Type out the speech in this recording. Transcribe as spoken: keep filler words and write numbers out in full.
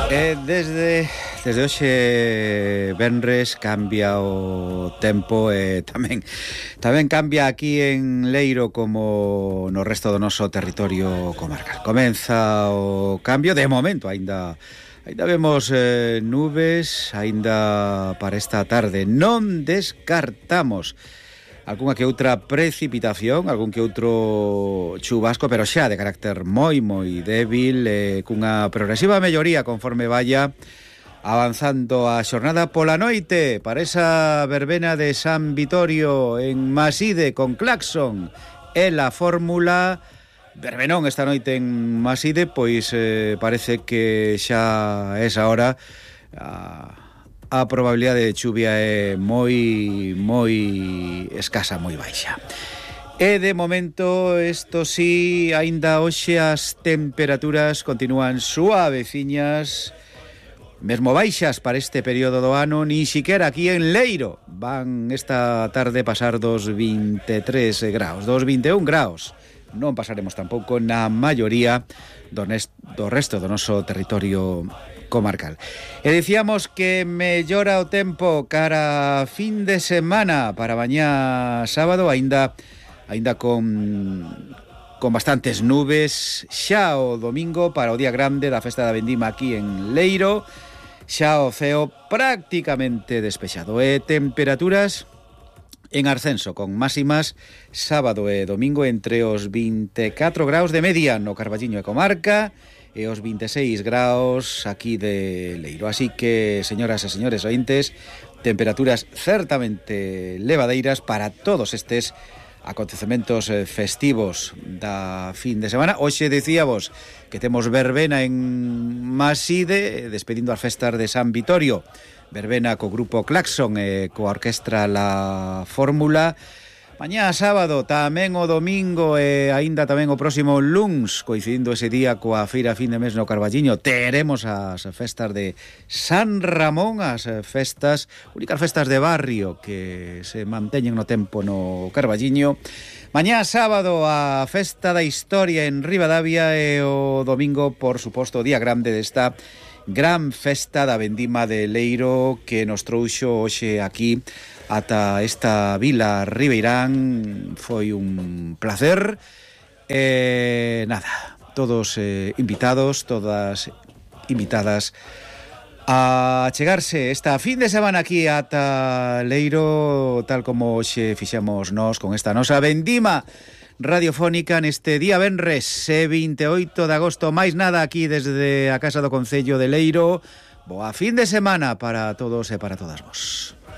E desde desde hoxe venres cambia o tempo e tamén tamén cambia aquí en Leiro como no resto do noso territorio comarcal. Comeza o cambio, de momento aínda aínda vemos eh, nubes aínda para esta tarde. Non descartamos algunha que outra precipitación, algún que outro chubasco, pero xa de carácter moi, moi débil, eh, cunha progresiva melloría conforme vaya avanzando a xornada pola noite para esa verbena de San Vitorio en Maside con Claxon e la fórmula. Verbenón esta noite en Maside, pois eh, parece que xa é esa hora a... a probabilidade de chuvia é moi, moi escasa, moi baixa. E de momento, isto sí, aínda hoxe as temperaturas continúan suaveciñas, mesmo baixas para este período do ano, ni siquiera aquí en Leiro van esta tarde pasar dos vinte e tres graus, dos vinte e un graus. Non pasaremos tampouco na maioría do, nest, do resto do noso territorio comarcal. E dicíamos que mellora o tempo cara fin de semana para mañá sábado, aínda aínda con con bastantes nubes, xa o domingo para o día grande da festa da vendima aquí en Leiro, xa o ceo prácticamente despexado e temperaturas en ascenso, con máximas sábado e domingo entre os vinte e catro graus de media no Carballiño e comarca e os vinte e seis graus aquí de Leiro. Así que, señoras e señores ointes, temperaturas certamente levadeiras para todos estes acontecementos festivos da fin de semana. Hoxe dicíamos que temos verbena en Maside, despedindo as festas de San Vitorio. Verbena co grupo Claxon e coa orquestra La Fórmula. Mañá sábado, tamén o domingo e aínda tamén o próximo luns, coincidindo ese día coa feira fin de mes no Carballiño, teremos as festas de San Ramón, as festas, únicas festas de barrio que se manteñen no tempo no Carballiño. Mañá sábado a festa da historia en Ribadavia e o domingo, por suposto, o día grande desta gran festa da vendima de Leiro que nos trouxo hoxe aquí ata esta vila ribeirán. Foi un placer. E nada, todos eh, invitados, todas invitadas a chegarse esta fin de semana aquí ata Leiro, tal como hoxe fixemos nós con esta nosa vendima radiofónica neste día venres vinte e oito de agosto. Máis nada aquí desde a Casa do Concello de Leiro. Boa fin de semana para todos e para todas vos.